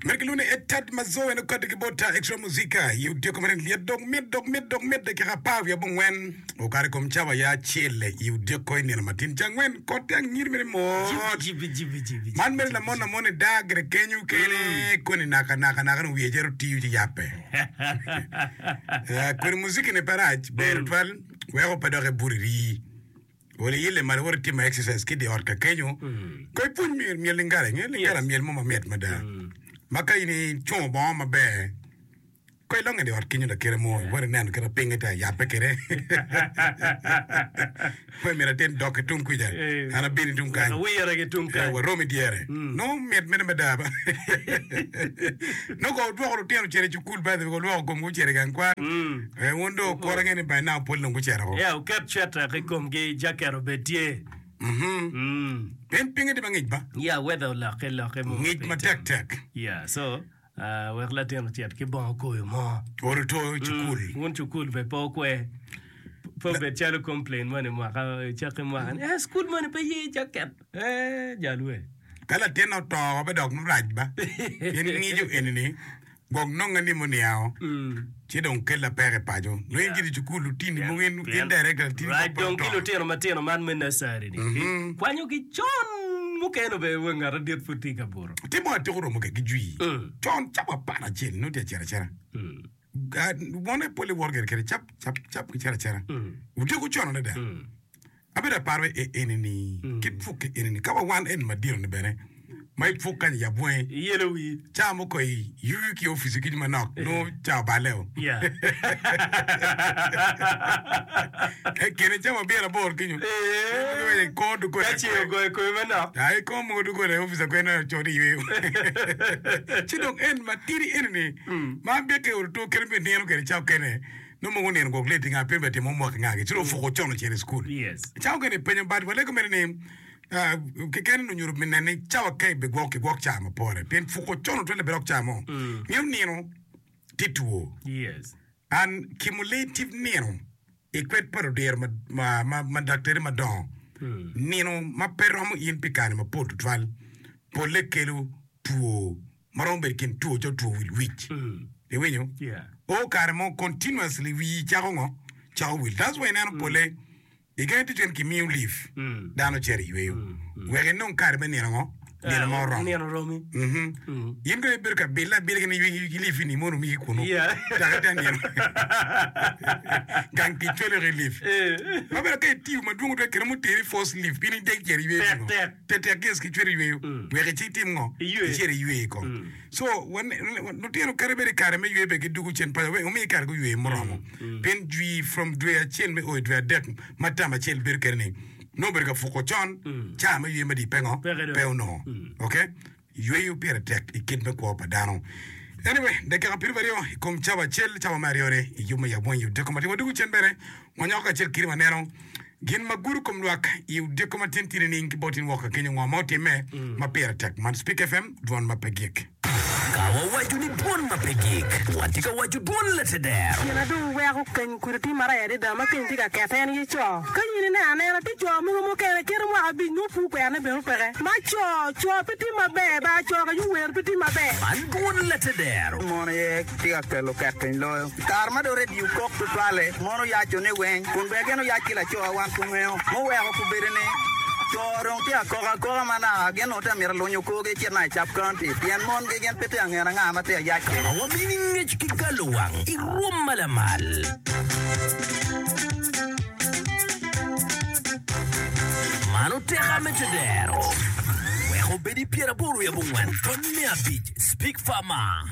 Mere ki lwongo ni Etad Mazoe en okati ki bot Extra Muzika i odiko mere lyet dok mit dok mit dok mit dakika apar wiye abongwen okato i kom cawa ya acel i odiko i nino matin cangwen kot tye angir mere mot Jibi, jibi, jibi, man mere lamon lamon i daa gire kenyo kene koni naka naka naka ni wiye cito tiyo ci yape Eh, kodi muziki ni pe rac ber tutwal weko pe dok ibuto irii Ol iyelle malo wot itimo exercise ki i dye ot ka kenyo. Ko ipwony myel myel lingala, inge lingala myel mo mamit mada. Ma ka in icungo bongo maber, ko ilongo i dye ot kenyo lakite mo, iwot ineno kit ma pinye tye ayabbe kwede. Pe myero atin dok ki tung kwica, an abino tung kany. Awire ki tung kany. Eh, warom i dyere. Nongo mit mene mada ba. Nongo ko wudwoko lutino ocito i cukul by the way, wulwoko komgi ocito i gang kwan. Eh, wun dong wukuro ange ni by now pol dong gucito ko. Yeah, wuket cweta ki komgi, jaket obed tye. Mhm. Mm. Pien pinye tye mangic ba. Yeah, weather olokke lokke mo. Ngic matek tek. Yeah, so uh, wek latin ocit ki bongo koyo mo. Olo to i cukul. Mm, wun cukul be pe okwer. Pe obed calo complain moni mwaka cakke mwaka ni, eh, cukul moni pe ye jaket. Eh, jalwe. Ka latin oto be dok rac ba. Pien ngico eni-ni gwok nonge ni muniango ci dong kella peko i paco. Nongo in giri i cukul lutini mogo in in director latini Rac gwok pe dong ki oto. lutino matino man me nursery ni Mhm. kwanyogi con mukene obedo wa ngat adit pud tye ka buto. Timo atika oromo kwede ki jwi Mm. con cawa 11 nongo tye acito acita. Mm. Ga- Wone pole woto kwede kede cap cap cap ki cito acita. Mm. Odiko con adada. Mm. Abedo aparo e eni-ni, ki puk e eni-ni, ka wa wan eni madito ni bene, ma i puk kany iyab wangi, Iyelo wii. ca mo ko i yuyu ki opici kenyo manok, nongo ca oballe o. Yeah. E kine cawa pyeraboro kenyo, Eh. kor doggola Ka ceng ogoyo i komi manok. Ai kor mogo doggola i opic akwe neno co ni yweyo. Ci dong en matidi eni-ni, ma byeke oruto kene me nino kede ca okene, Nongo mogo onino gwok late nga pe timo homework nga gi ci dong ofuko con ocito i school. Yes. Cawa okene ipenyo but walego mere ni ah, keken onyuto me nene ni cawa ka ibigwok kigwok cawa ma pore pien fuko con otwele bene dok cawa mo ngeyo nino tye two Yes. and cumulative nino i kwed pa ludiro ma, ma, ma, ma daktari madongo nino ma pe romo in pi kare mapol tutwal polle kelo two ma romo bedo i kin two calo two wil wic. Iwinyo? O kare mo continuously wii cako ngo? Cako wil. That's why ineno pole i gangi tic en kimiyo leave dano cito i yweyo wek inong kare me nino ngo? Nino ma oromo. Nino oromi. Mhm. In dong ibedo ka bille abila ki ni ki leave ni mono omigi kunu. Dok ite nino. Gang tic cwalo ki leave. Ma bene ka itiyo madwong tutwal kine mo teri force leave pien idek cito i yweyo Tek pingo? tek. Tetek yes ki cwero yweyo wek ici itim ngo? Iywe. Icit iywe kong. So wan lutino kadi bed i kare me ywe bene gidugo cen paco wek omi kare guywe muromo. Pien jwi from dwe acel me o i dwe adek ma tam acel bedo kede ni nongo obedo ka puko con ca me ywe madit pe ngo? Peke dong. Pe onongo. Okay? Yweyo pire tek i kit me kwo pa dano. Anyway, dakika pyeraryo i kom cawa acel, cawa me aryone i yub me yab weng i odiko matin. Wadwogo cen bene, wanyoko kacel kiri waneno gin ma gudo kom lwak i odiko matin tye nining ki bot in woko ka kenyo ngo ma otimme ma pire tek. Man Speak FM, dwon ma pe gik. Ka wawaco ni dwon ma pe gik, watye ka waco dwon lateder. Gin adong weko keny kudi tye marac adada ma keny tye ka kete en aye co. Ka in ineno anena tye co mogo mukene kite mwaka abic nongo pur kwerone bene peke. Ma co, co pe tye maber ba co ka yung wer pe tye maber. Man dwon lateder. Mon aye tye ka kelo ket piny loyo. I kare ma dong redio kok tutwalle, mon oyaco ni weng, kun bene gin oyac ki laco wan pe wangeyo. Muweko kobedo ni co dong tye ka koko akoka ma naka gin onongo tye ka mito lunyo korgi ecit naka i Cap County pien mongi gin pe tye ka ngene anga ma tye ka yac kwede. Ma wamini ngec ki galowang i rwom ma lamal. Man oteka me tedero. Wek obed i pyeraboro wiye abongwen tony me abic Speak Farmer.